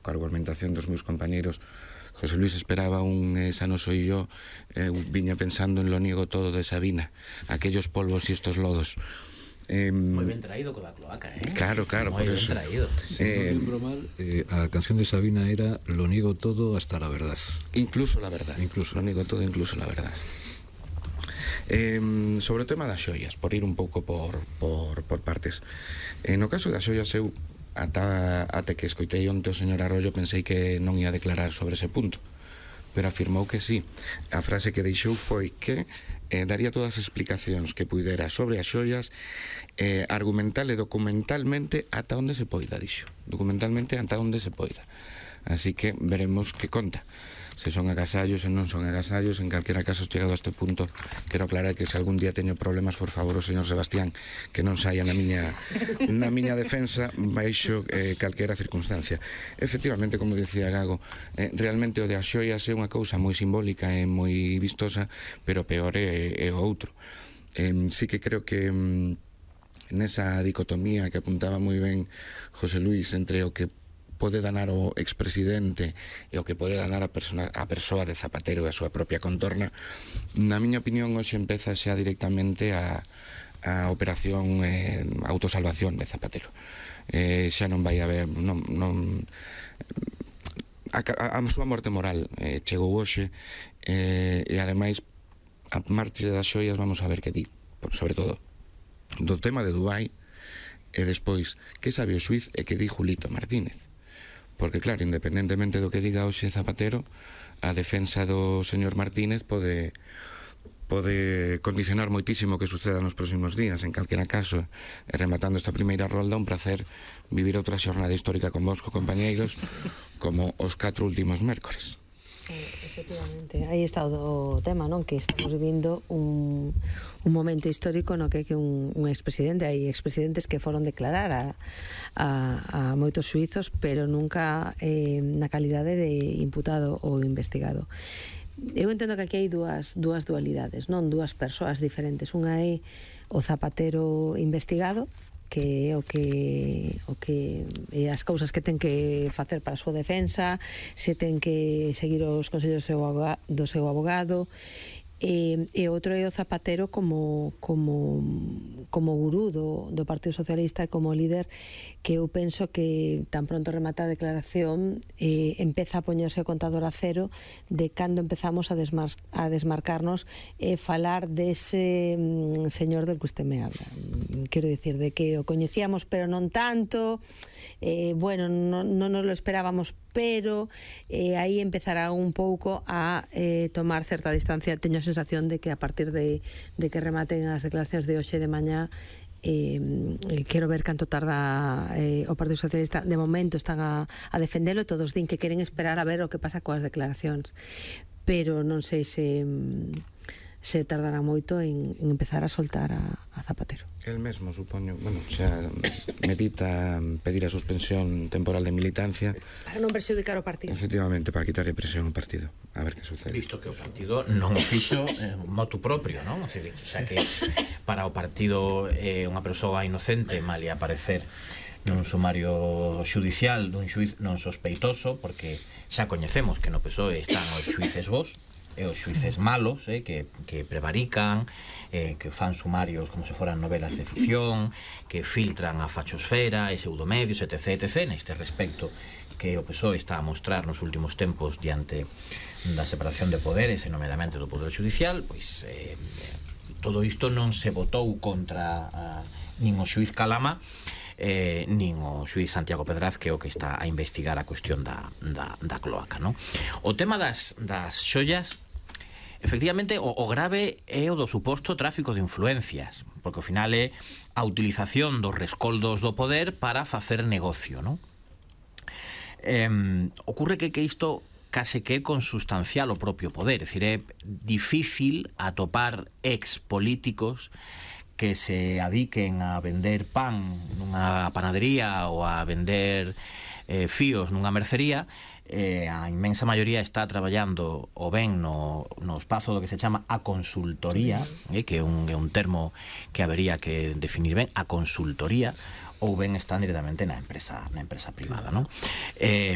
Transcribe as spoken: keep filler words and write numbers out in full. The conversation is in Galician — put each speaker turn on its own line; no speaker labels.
coa argumentación dos meus compañeros. José Luis esperaba un Esa no soy yo, eh, viña pensando en Lo niego todo de Sabina, aquellos polvos y estos lodos.
Eh, moi ben traído con la cloaca, eh?
Claro, claro,
moi
por
ben
eso.
traído.
Si eh, non lembro mal, eh, a canción de Sabina era Lo niego todo hasta la verdad.
Incluso la verdad.
Incluso.
Lo niego todo, incluso la verdad. Eh, sobre o tema das xoias, por ir un pouco por, por, por partes. Eh, no caso das xoias, eu ata, ate que escoitei onte o señor Arroyo pensei que non ia declarar sobre ese punto, pero afirmou que sí. A frase que deixou foi que eh, daría todas as explicacións que puidera sobre as xoias, eh, argumental e documentalmente ata onde se poida, dixo. Documentalmente ata onde se poida. Así que veremos que conta. Se son agasallos, se non son agasallos. En calquera caso, chegado a este punto, quero aclarar que se algún día teño problemas, por favor, o señor Sebastián, que non saia na miña na miña defensa baixo eh, calquera circunstancia. Efectivamente, como dicía Gago, eh, realmente o de as xoias é unha cousa moi simbólica e moi vistosa, pero peor é, é o outro. Eh, sí que creo que mm, nesa dicotomía que apuntaba moi ben José Luis entre o que pode danar o expresidente e o que pode danar a, persona, a persoa de Zapatero e a súa propia contorna, na miña opinión hoxe empeza xa directamente a, a operación eh, autosalvación de Zapatero. Eh, xa non vai haber non, non, a, a, a súa morte moral eh, chegou hoxe, eh, e ademais a marcha das xoias vamos a ver que di, sobre todo do tema de Dubai, e despois que sabe o xuiz e que di Julito Martínez. Porque claro, independentemente do que diga hoxe Zapatero, a defensa do señor Martínez pode pode condicionar moitísimo o que suceda nos próximos días. En calquera caso, e rematando esta primeira rolda, un placer vivir outra xornada histórica con vos, co compañeiros, como os catro últimos mércores.
Efectivamente, aí está o tema, non? Que estamos vivindo un, un momento histórico no que que un, un expresidente, hai expresidentes que foron declarar a, a, a moitos suizos, pero nunca eh, na calidade de imputado ou investigado. Eu entendo que aquí hai dúas, dúas dualidades, non? Dúas persoas diferentes. Unha é o Zapatero investigado, que é o que o que é as cousas que ten que facer para a súa defensa, se ten que seguir os consellos do seu abogado, do seu abogado e, e outro é o Zapatero como como como gurú do, do Partido Socialista e como líder, que eu penso que tan pronto remata a declaración eh, empeza a poñerse o contador a cero de cando empezamos a, desmar, a desmarcarnos e falar dese mm, señor del que usted me habla. Quero dicir, de que o coñecíamos pero non tanto, eh, bueno, non, non nos lo esperábamos, pero eh, aí empezará un pouco a eh, tomar certa distancia. Teño a sensación de que a partir de, de que rematen as declaracións de hoxe de mañá, eh, quero ver canto tarda eh, o Partido Socialista. De momento están a, a defendelo, todos din que queren esperar a ver o que pasa coas declaracións, pero non sei se se tardará moito en, en empezar a soltar a, a Zapatero.
El mesmo, supoño, bueno, xa medita pedir a suspensión temporal de militancia
para non perxudicar o partido.
Efectivamente, para quitarle presión ao partido. A ver que sucede.
Visto que o partido non o fixo eh, motu propio, non? O sea, o sea que para o partido é eh, unha persoa inocente, mal ia aparecer nun sumario xudicial dun xuiz non sospeitoso, porque xa coñecemos que no P S O E están os xuíces vos e os xuíces malos, eh, que, que prevarican, eh, que fan sumarios como se foran novelas de ficción, que filtran a fachosfera e pseudomedios, etc, etc. Neste respecto que o P S O E está a mostrar nos últimos tempos diante da separación de poderes e nomeadamente do Poder Judicial, pois eh, todo isto non se votou contra a, nin o xuiz Calama, Eh, nin o xuiz Santiago Pedraz, que é o que está a investigar a cuestión da, da, da cloaca, non? O tema das, das xollas, efectivamente, o, o grave é o do suposto tráfico de influencias, porque ao final é a utilización dos rescoldos do poder para facer negocio, non? Eh, ocurre que, que isto case que é consustancial ao propio poder, é dicir, é difícil atopar ex políticos que se adiquen a vender pan nunha panadería ou a vender eh, fíos nunha mercería. Eh, a inmensa maioría está traballando o ben no, no espazo do que se chama a consultoría, eh, que é un, é un termo que habería que definir ben, a consultoría, ou ben están directamente na empresa na empresa privada, non? Eh,